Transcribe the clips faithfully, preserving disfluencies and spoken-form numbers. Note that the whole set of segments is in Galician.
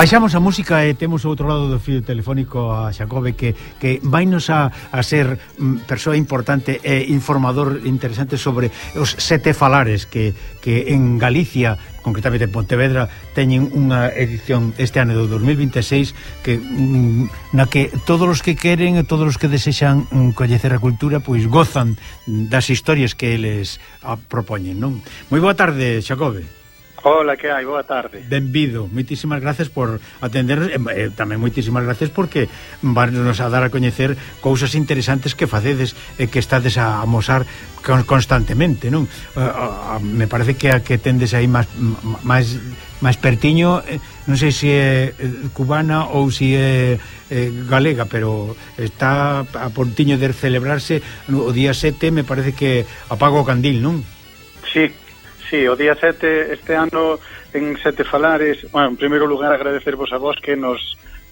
Baixamos a música e temos ao outro lado do fío telefónico a Xacobe que, que vainos a, a ser mm, persoa importante e informador interesante sobre os sete falares que, que en Galicia, concretamente en Pontevedra, teñen unha edición este ano do dos mil vinte e seis que, mm, na que todos os que queren e todos os que desexan mm, coñecer a cultura pois gozan das historias que eles a, propoñen, non? Moi boa tarde, Xacobe. Hola, que hai? Boa tarde. Benvido, moitísimas gracias por atendernos e eh, tamén moitísimas gracias porque nos a dar a coñecer cousas interesantes que facedes e que estades a amosar constantemente, non? Uh, uh, me parece que a que tendes aí máis máis máis pertiño, eh, non sei se é cubana ou se é eh, galega, pero está a pontiño de celebrarse o día sete, me parece que apaga o candil, non? Sí. Sí, o día sete este ano en Sete Falares. Bueno, en primeiro lugar agradecervos a vos que nos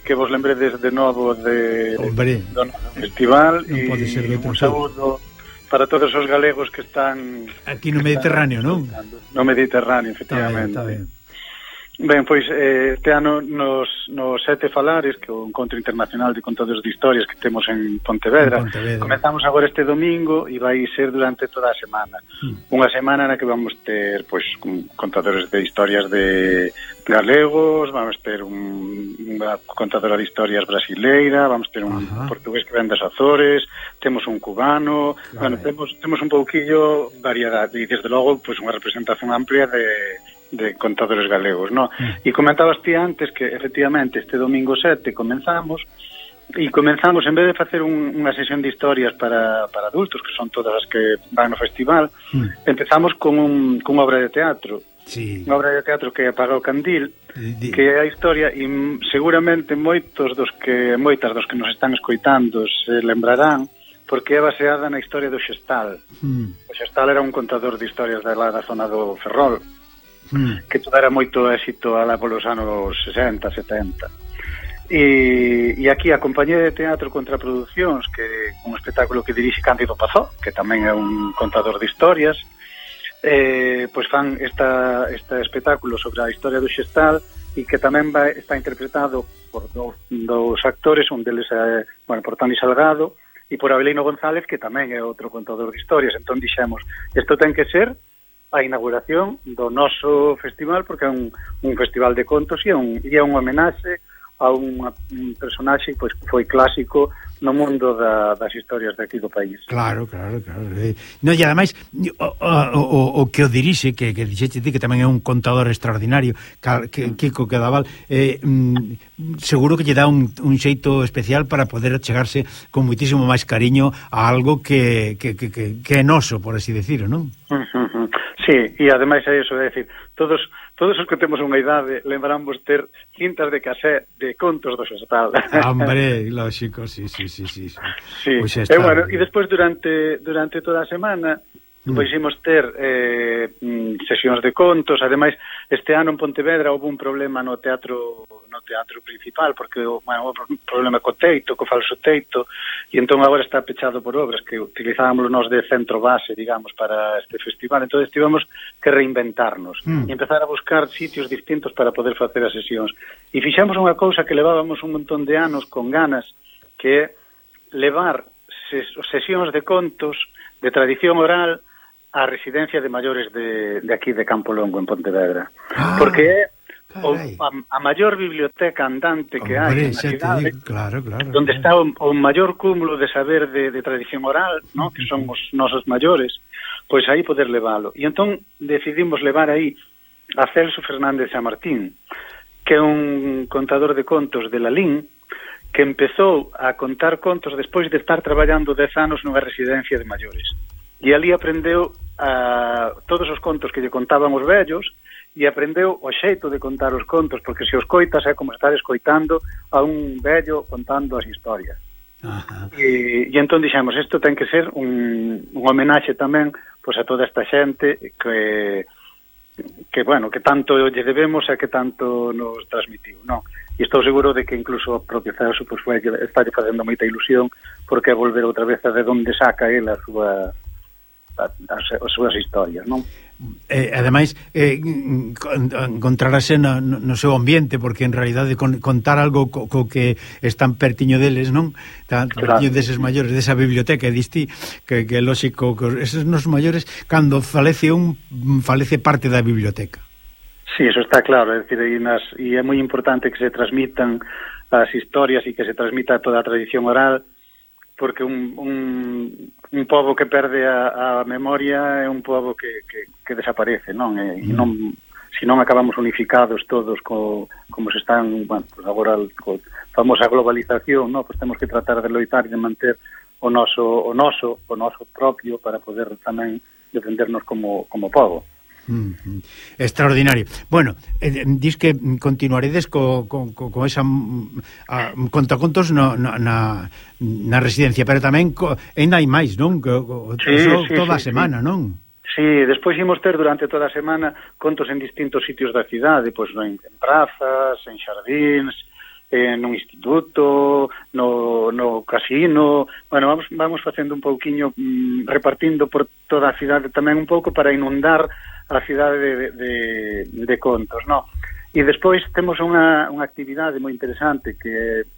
que vos lembredes de novo de, Hombre, do festival e un saúdo para todos os galegos que están aquí no Mediterráneo, non? No Mediterráneo, efectivamente. Está ben, está ben. Ben, pois eh, este ano nos, nos Sete Falares, que é o Encontro Internacional de Contadores de Historias que temos en Pontevedra, en Pontevedra. Comezamos agora este domingo e vai ser durante toda a semana. Hmm. Unha semana na que vamos ter pois contadores de historias de galegos, vamos ter un, unha contadora de historias brasileira, vamos ter un Ajá. portugués que ven das Azores, temos un cubano, claro. Bueno, temos, temos un pouquillo variedade e desde logo pois unha representación amplia de de contadores galegos, ¿no? Mm. E comentabas ti antes que efectivamente este domingo sete comenzamos e comenzamos, en vez de facer un, unha sesión de historias para, para adultos, que son todas as que van no festival, mm. empezamos con, un, con unha obra de teatro. Sí. Unha obra de teatro que apaga o candil, sí. Que é a historia, e seguramente moitos dos que moitas dos que nos están escoitando se lembrarán, porque é baseada na historia do Xestal. Mm. O Xestal era un contador de historias da, da zona do Ferrol, mm. que tuvera moito éxito alá polos anos sesenta, setenta. E, e aquí a Compañía de Teatro Contraproduccións, que é un espectáculo que dirixe Cándido Pazó, que tamén é un contador de historias, eh, pois fan esta, este espectáculo sobre a historia do Xestal e que tamén vai, está interpretado por dous, dous actores, un deles é, bueno, por Toni Salgado e por Abelino González, que tamén é outro contador de historias. Entón dixemos, isto ten que ser a inauguración do noso festival, porque é un, un festival de contos e é un, e é un homenaxe a un, un personaxe pois, que foi clásico no mundo da, das historias de aquí do país. Claro, claro, claro. No, e ademais, o, o, o que o dirixe, que, que dixete ti, que tamén é un contador extraordinario, que, Kiko Quedaval, eh, mm, seguro que lle dá un, un xeito especial para poder chegarse con moitísimo máis cariño a algo que, que, que, que, que é noso, por así decirlo, non? Uh -huh. Sí, e ademais é iso, é dicir, todos todos os que temos unha idade lembramos ter cintas de casé de contos do Xestal. Hombre, lógico, sí, sí, sí, sí. Sí, pues e bueno, e despois durante durante toda a semana mm. pois imos ter eh, sesións de contos. Ademais, este ano en Pontevedra houve un problema no teatro no teatro principal, porque bueno, houve un problema co teito, co falso teito, e entón agora está pechado por obras que utilizábamos nós de centro base, digamos, para este festival. Entón tivemos que reinventarnos mm. e empezar a buscar sitios distintos para poder facer as sesións. E fixamos unha cousa que levábamos un montón de anos con ganas, que é levar ses sesións de contos de tradición oral á residencia de maiores de, de aquí de Campo Longo, en Pontevedra. Ah, porque é o, a, a maior biblioteca andante que hai na cidade, claro, claro, onde claro. está o, o maior cúmulo de saber de, de tradición oral, ¿no? Que son os nosos maiores, pois aí poder leválo. E entón decidimos levar aí a Celso Fernández Chamartín, que é un contador de contos de Lalín, que empezou a contar contos despois de estar traballando dez anos nunha residencia de maiores. E ali aprendeu a, todos os contos que lle contaban os vellos e aprendeu o xeito de contar os contos, porque se os coitas é como estar escoitando a un vello contando as historias. Ajá. E, e entón dixemos, isto ten que ser un, un homenaxe tamén pois, a toda esta xente que, que, bueno, que tanto lle debemos e que tanto nos transmitiu, non? E estou seguro de que incluso o propio Celso pues, foi, está facendo moita ilusión porque volver outra vez a de onde saca ele a súa, a, a, as súas historias, non? eh, ademais eh, encontrarase no, no seu ambiente, porque en realidade con, contar algo co, co que están pertiño deles, non? Tan claro. Pertiño deses maiores, desa biblioteca, e diste que, que é lógico que eses nos maiores, cando falece un, falece parte da biblioteca. Sí, eso está claro, é dicir, e, nas, e é moi importante que se transmitan as historias e que se transmita toda a tradición oral, porque un, un, un pobo que perde a, a memoria é un pobo que, que, que desaparece, non? E, e non, se non acabamos unificados todos co, como se están, bueno, pues agora co famosa globalización, non? Pues temos que tratar de loitar e de manter o noso, o noso, o noso propio para poder tamén defendernos como, como pobo. Mm-hmm. Extraordinario. Bueno, eh, dis que continuaredes co, co, co, co esa a, contacontos no, no, na, na residencia, pero tamén co, ainda hai máis, non? Co, sí, eso sí, toda sí, a semana, sí. non? Sí, despois imos ter durante toda a semana contos en distintos sitios da cidade, pois en, en prazas, en xardíns, en un instituto, no, no casino. Bueno, vamos, vamos facendo un pouquiño, mm, repartindo por toda a cidade tamén un pouco para inundar a cidade de, de, de contos, no? E despois temos unha, unha actividade moi interesante que,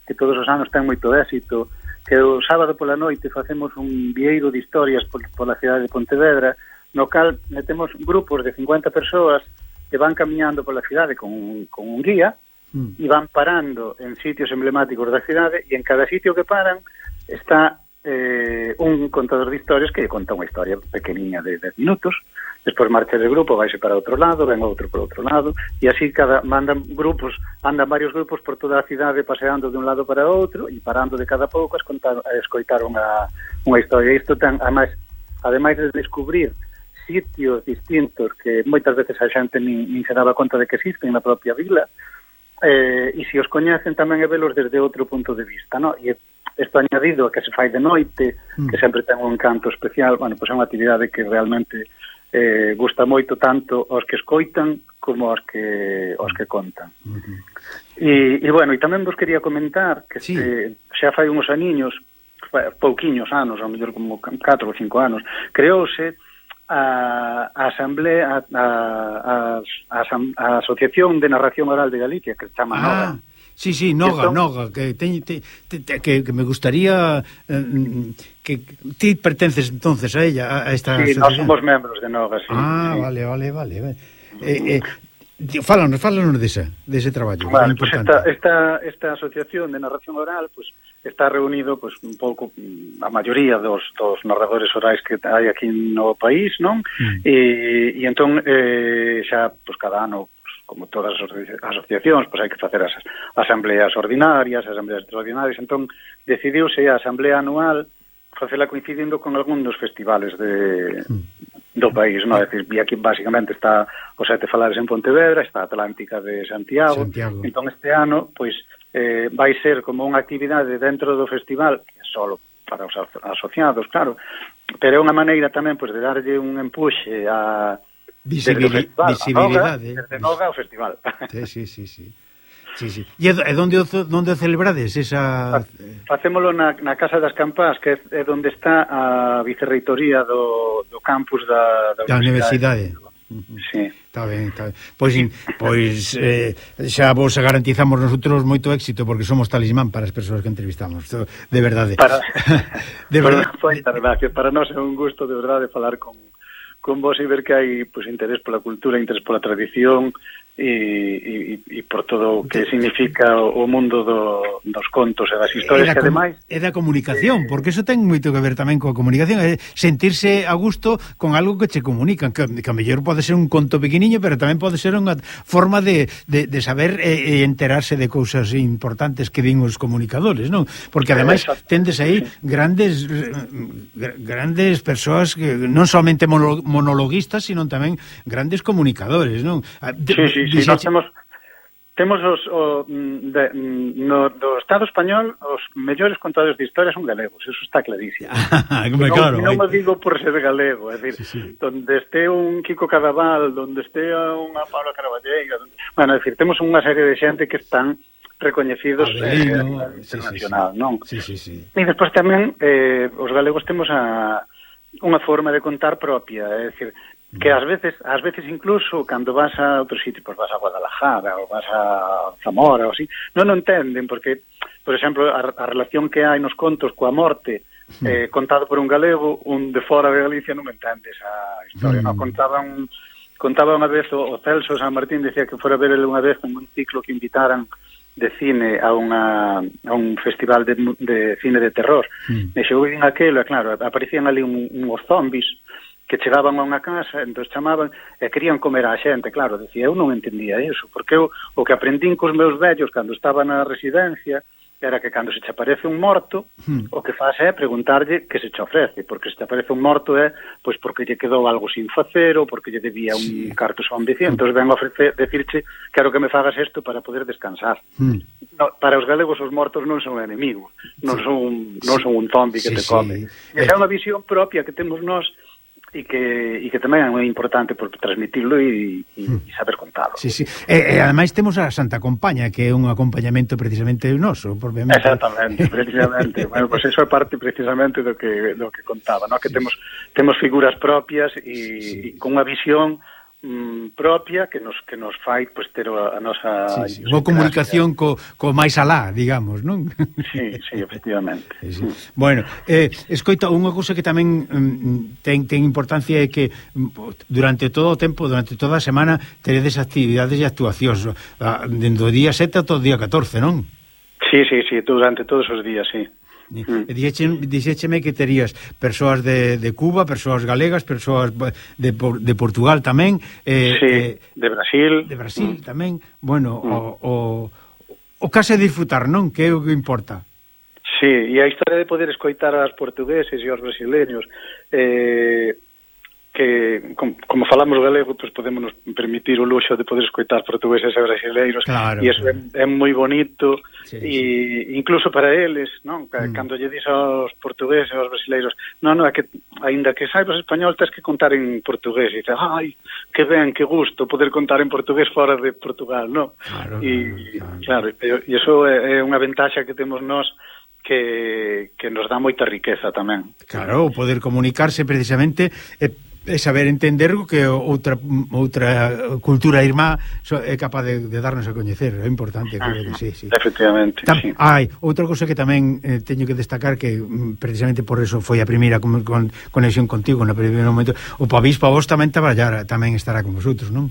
que todos os anos ten moito éxito, que o sábado pola noite facemos un vieiro de historias por, pola cidade de Pontevedra, no cal metemos grupos de cincuenta persoas que van camiñando pola cidade con, con un guía mm. e van parando en sitios emblemáticos da cidade, e en cada sitio que paran está eh, un contador de historias que conta unha historia pequeniña de dez minutos. Despois marcha de grupo, vaise para outro lado, ven outro por outro lado, e así cada mandan grupos, andan varios grupos por toda a cidade paseando de un lado para outro e parando de cada pouco a, escontar, a escoitar unha, unha historia. Isto ten, ademais, ademais de descubrir sitios distintos que moitas veces a xente nin, nin se daba conta de que existen na propia vila, eh, e se os coñecen tamén é velos desde outro punto de vista, no? E isto añadido a que se fai de noite, mm. que sempre ten un encanto especial, bueno, pois é unha actividade que realmente eh, gusta moito tanto aos que escoitan como aos que aos que contan. Uh-huh. E, e bueno, e tamén vos quería comentar que sí. se, xa fai uns aniños, pouquiños anos, ao mellor como catro ou cinco anos, creouse a, a Asamblea, a, a, a, a Asociación de Narración Oral de Galicia, que se chama ah. Noga. Sí, sí, Noga, entón, Noga, que, te, te, te, que, que me gustaría eh, que ti pertences entonces a ella, a esta sí, asociación. Nós somos membros de Noga, sí. Ah, sí. vale, vale, vale. Eh, eh, fálanos, fálanos dese, dese traballo. Vale, pues esta, esta, esta asociación de narración oral, pues está reunido pues un pouco a maioría dos, dos narradores orais que hai aquí no país, non? Mm. E, e entón eh, xa pues cada ano, como todas as asociacións, pois hai que facer as asambleas ordinarias, as asambleas extraordinarias, entón decidiuse a asamblea anual facela coincidindo con algún dos festivales de, do país, non? É dicir, e aquí basicamente está os Sete Falares en Pontevedra, está a Atlántica de Santiago, Santiago. Entón este ano, pois, eh, vai ser como unha actividade dentro do festival, que é solo para os asociados, claro, pero é unha maneira tamén, pois, de darlle un empuxe a Visibili visibilidade desde Noga ao festival. Sí, sí, sí, sí. Sí, sí. E onde onde celebrades esa Facémolo na, na Casa das Campás, que é onde está a vicerreitoría do, do campus da, da, da universidade. Sí. Está ben, está ben. Pois, pois eh, xa vos garantizamos nosotros moito éxito, porque somos talismán para as persoas que entrevistamos, de verdade. Para, de verdade. Para, para nós é un gusto de verdade falar con con vos e ver que hai pues, interés pola cultura, interés pola tradición e, e, e por todo o que significa o mundo do, dos contos e das historias que ademais... É da comunicación, eh, porque eso ten moito que ver tamén coa comunicación, é sentirse a gusto con algo que che comunican, que, que a mellor pode ser un conto pequeniño, pero tamén pode ser unha forma de, de, de saber e, e enterarse de cousas importantes que din os comunicadores, non? Porque ademais tendes aí grandes grandes persoas que non somente monologuistas, sino tamén grandes comunicadores, non? De, sí, sí, sí, nós temos temos os o, de, no, do Estado español os mellores contadores de historias son galegos, eso está clarísimo. Ah, non, claro, non me digo por ser galego, é dicir, sí, sí. Donde este un Kiko Cadaval, donde este unha Paula Caraballeira, donde, bueno, é dicir, temos unha serie de xente que están recoñecidos Adelino, eh, internacional, sí, sí, non? Sí, sí, sí. E despois tamén eh, os galegos temos a unha forma de contar propia, é dicir, que ás veces, ás veces incluso cando vas a outro sitio, pois vas a Guadalajara ou vas a Zamora ou así, non o entenden porque, por exemplo, a, a relación que hai nos contos coa morte eh, contado por un galego, un de fora de Galicia non entende esa historia, mm. non contaban contaba unha vez o, o Celso San Martín, decía que fora ver ele unha vez en un ciclo que invitaran de cine a unha a un festival de, de cine de terror. Mm. E xogou en aquelo, e claro, aparecían ali un, uns zombies que chegaban a unha casa, entón chamaban e querían comer a xente, claro, decía, eu non entendía iso, porque eu, o que aprendín cos meus vellos cando estaba na residencia era que cando se te aparece un morto, hmm. o que faz é preguntarlle que se te ofrece, porque se te aparece un morto é pois porque lle quedou algo sin facer ou porque lle debía un sí. carto son veciño, entón ven a ofrecer, decirche quero que me fagas isto para poder descansar. Hmm. No, para os galegos os mortos non son enemigos, non sí. son non son un zombi que sí, te come. Sí. Esa é unha visión propia que temos nós e que, e que tamén é moi importante por transmitirlo e, e, e saber contalo. Sí, sí. E, e ademais temos a Santa Compaña, que é un acompañamento precisamente noso, propiamente. Exactamente, precisamente. Bueno, pues eso é parte precisamente do que do que contaba, ¿no? Que sí. temos temos figuras propias e, sí. e con unha visión mm, propia que nos que nos fai pues ter a, a nosa sí, sí. Unha comunicación co, co máis alá, digamos, non? Sí, sí, efectivamente. Sí, sí. Mm. Bueno, eh, escoita, unha cousa que tamén mm, ten, ten importancia é que mm, durante todo o tempo, durante toda a semana teredes actividades e actuacións dende o día sete ata o día catorce, non? Sí, sí, sí, durante todos os días, sí. Mm. Dixécheme que terías persoas de, de Cuba, persoas galegas, persoas de, de Portugal tamén, eh, sí, eh, de Brasil, de Brasil mm. tamén. Bueno, mm. o, o, o case disfrutar, non? Que é o que importa. Sí, e a historia de poder escoitar aos portugueses e aos brasileños, eh, que como, como falamos galego, pues podemos nos permitir o luxo de poder escoitar portugueses e brasileiros, claro, e iso claro. é, é moi bonito, sí, e sí. incluso para eles, non? Mm. Cando lle dis aos portugueses e aos brasileiros, non, non, é que aínda que saibas español, tens que contar en portugués, e dices, ai, que ben, que gusto poder contar en portugués fora de Portugal, non? Claro, e claro, claro, e iso é, é unha ventaxa que temos nós que, que nos dá moita riqueza tamén. Claro, poder comunicarse precisamente é é saber entender que outra outra cultura irmá é capaz de, de darnos a coñecer, é importante, creo que sí, sí. Efectivamente, Tam, sí. Hai outra cousa que tamén eh, teño que destacar, que precisamente por eso foi a primeira con, con, conexión contigo no primeiro momento, o Pavís Pavós tamén traballar, tamén estará con vosotros, non?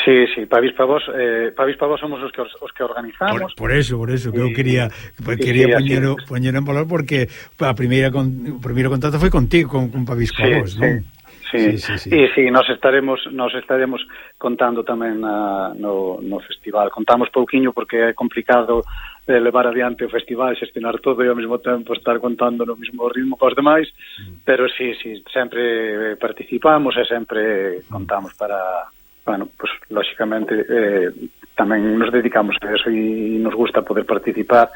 Sí, sí, Pavís Pavós, eh, Pavís Pavós somos os que os que organizamos. Por, por eso, por eso, que eu quería quería sí, poñer, poñer en valor porque a primeira con, o primeiro contacto foi contigo con, con Pavís Pavós, sí, non? Sí. Sí, sí, sí, sí. E sí, nos estaremos nos estaremos contando tamén na, no, no festival. Contamos pouquiño porque é complicado eh, levar adiante o festival, xestionar todo e ao mesmo tempo estar contando no mesmo ritmo cos demais, mm. pero sí, sí, sempre participamos e sempre contamos para, bueno, pues lógicamente eh, tamén nos dedicamos a eso e nos gusta poder participar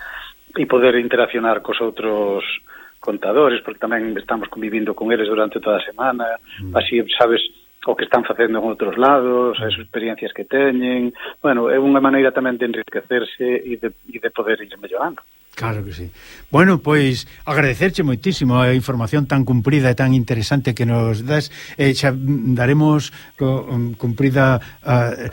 e poder interaccionar cos outros contadores, porque tamén estamos convivindo con eles durante toda a semana, mm. así sabes o que están facendo en outros lados, as experiencias que teñen, bueno, é unha maneira tamén de enriquecerse e de, e de poder ir mellorando. Claro que sí. Bueno, pois agradecerche moitísimo a información tan cumprida e tan interesante que nos das, eh, xa daremos co, um, cumprida uh,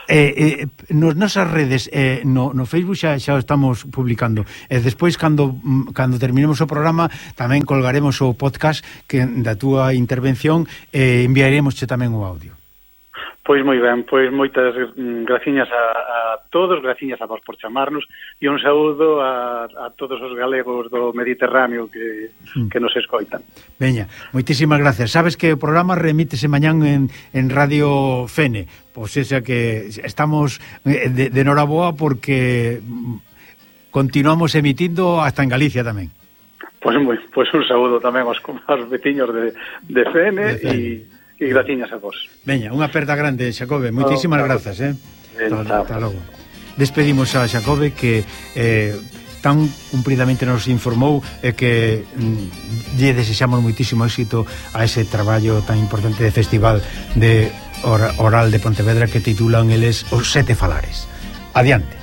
Eh, eh, nos nosas redes eh, no, no Facebook xa, xa estamos publicando e eh, despois cando, cando terminemos o programa tamén colgaremos o podcast que, da túa intervención e eh, enviaremosche tamén o audio. Pois moi ben, pois moitas graciñas a, a todos, graciñas a vos por chamarnos e un saúdo a, a todos os galegos do Mediterráneo que, mm. que nos escoitan. Veña, moitísimas gracias. Sabes que o programa remítese mañán en, en Radio Fene, pois esa que estamos de, de noraboa porque continuamos emitindo hasta en Galicia tamén. Pois moi, pois un saúdo tamén aos, aos veciños de, de Fene e e graciñas a vos. Veña, unha aperta grande, Xacobe. Moitísimas oh, grazas, eh. Hasta logo. Despedimos a Xacobe que eh, tan cumpridamente nos informou e eh, que mm, lle desexamos moitísimo éxito a ese traballo tan importante de festival de oral de Pontevedra que titulan eles Os Sete Falares. Adiante.